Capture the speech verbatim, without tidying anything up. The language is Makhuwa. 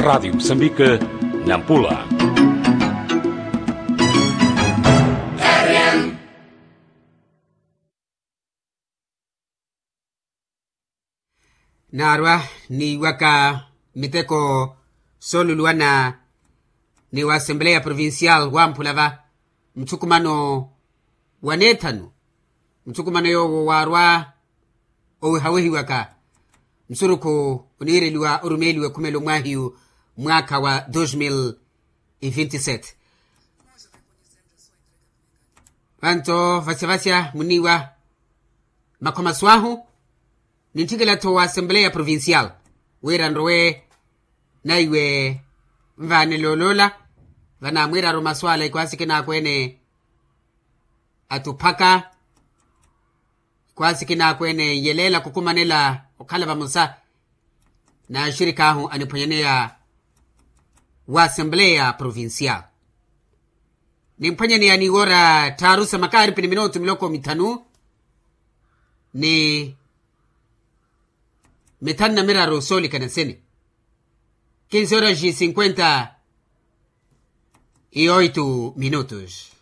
Raadio musambike, nampula. Naarwa niiwaka miteko sooluluwana ni wa assembleya provincial wamphula va muthukumano wa neethanu. Muthukumano yoowo waarwa owehawehiwaka nsurukhu oniireliwa orumeeliwa ekhumelo mwaahiyu mwaakha wa dos mil e vinti sete. Vanto vasya vasya muniiwa makhomaso ahu nintthikela-tho wa assembleya provincial wira nrowe naiwe nvaanele oloola. Vanaamwiiraru masu ala ikhwaasi kinaakweene atuphaka ikhwaasi kinaakweene nyeleela khukumanela okhala vamosa n'axirik'ahu aniphwanyaneya wa assembleya provincial. Nimphwanyaneya ni woora tthaaru sa makaaripi ni minutu miloko mithanu ni mithanu na miraru soolikana sini. Kinsi horas cinquenta e oito minutos.